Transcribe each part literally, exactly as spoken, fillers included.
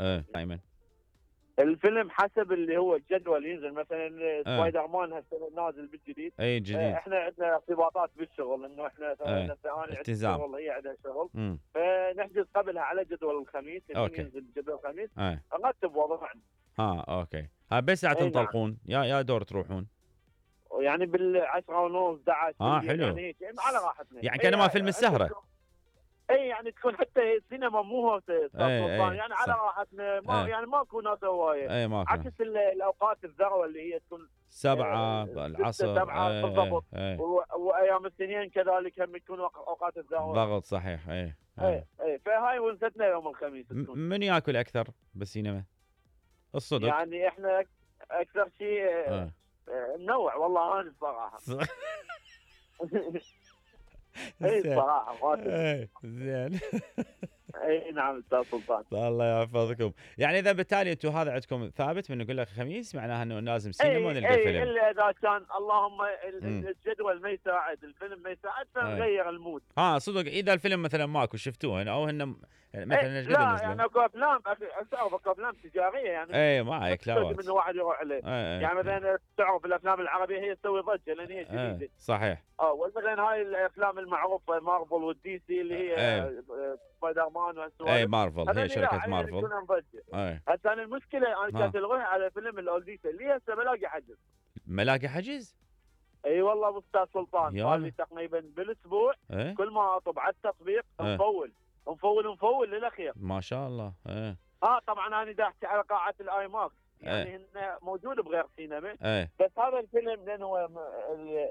ايه ايمن الفيلم حسب اللي هو الجدول ينزل، مثلا سبايدر مان هسه نازل بالجديد، اي جديد، احنا عندنا ارتباطات بالشغل، انه احنا ايه. انا التزام، شغل هي عندها شغل، مم. فنحجز قبلها على جدول الخميس اللي اوكي. ينزل جدول الخميس، ايه. نرتب وضعنا. ها اوكي، ها بس ساعة اي تنطلقون يا يا دور تروحون؟ يعني بالعشرة ونص احد عشر اه بالليل، حلو، يعني هيك يعني على راحتنا، يعني كانما فيلم السهرة. اي يعني تكون حتى السينما مو هو استاذ سلطان، يعني على راحتنا، ما ايه. يعني ماكو ناس هوايه، ايه ماكو، عكس الاوقات الذروه اللي هي تكون سبعة العصر، سبعة ايه بالضبط، ايه. وايام السنين كذلك هم يكون اوقات الذروه. ضغط صحيح. ايه ايه ايه، فهاي ونستنا يوم الخميس. من ياكل اكثر بالسينما؟ الصدق يعني احنا اكثر شيء اه. ننوع والله انا الصراحه. اي صراحه ايه زين. اي نعم استاذ سلطان، الله يحفظكم. يعني اذا بالتالي انتم هذا عندكم ثابت من نقول لك خميس، معناها انه لازم سينما ونلقى أي فيلم. اي الا اذا كان اللهم الجدول ما يساعد، الفيلم ما يساعد، فنغير المود. اه صدق، اذا الفيلم مثلا ماكو شفتوه او هن مثلا ايش قد لا نزلوا؟ يعني اكو افلام اكو افلام تجاريه يعني اي ما عليك، لا من واحد يروح عليه. يعني مثلا تعرف الافلام العربيه هي تسوي ضجه لان هي جديده. صحيح. اه مثلا هاي الافلام المعروفه مارفل والدي سي اللي هي سبايدر مان والسوالف. اي مارفل، هي شركه مارفل. هسه انا المشكله انا كانت الغي على فيلم الاولديسا اللي هسه ملاقي حجز. ملاقي حجز؟ اي والله ابو استاذ سلطان، هذه تقريبا بالاسبوع ايه؟ كل ما اطب على التطبيق مفول مفول مفول للاخير. ما شاء الله. ايه. اه طبعا انا دا احكي على قاعه الاي ماكس، يعني ايه؟ هن موجود بغير سينما. ايه. بس هذا الفيلم لانه هو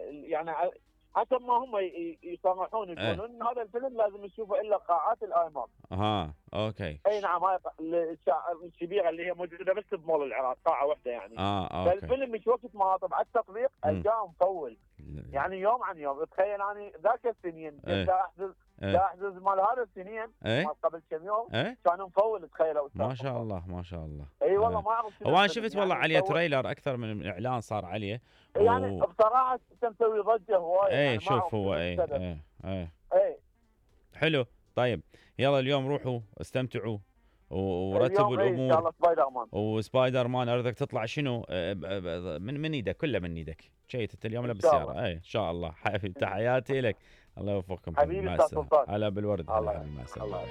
يعني حسب ما هم يصرحون يقولون ان هذا الفيلم لازم نشوفه الا قاعات الاي ماكس. اها اوكي. اي نعم، هاي الكبيره اللي هي موجوده بس بمول العراق، قاعه واحده يعني. اه اوكي. فالفيلم مش وقت ما اطب على التطبيق القاه مطول، يعني يوم عن يوم. تخيل يعني ذاك السنين دا احجز دا احجز مال هذا السنين مال قبل كم يوم كانوا مفول. تخيلوا ما شاء الله ما شاء الله. اي والله ما اعرف. هو انا شفت والله عليه تريلر اكثر من اعلان صار عليه يعني و... بصراحه مسوي ضجه هوايه. اي يعني شوف هو اي اي اي اي حلو. طيب يلا اليوم روحوا استمتعوا ورتبوا الامور. ان شاء الله سبايدر مان. وسبايدر مان اريدك تطلع شنو من من ايدك، كله من ايدك. شيت اليوم لابس سياره. اي ان شاء الله. حبيبي تحياتي لك، الله يوفقكم حبيبي. استاذ سلطان هلا بالورد. الله يسلمك.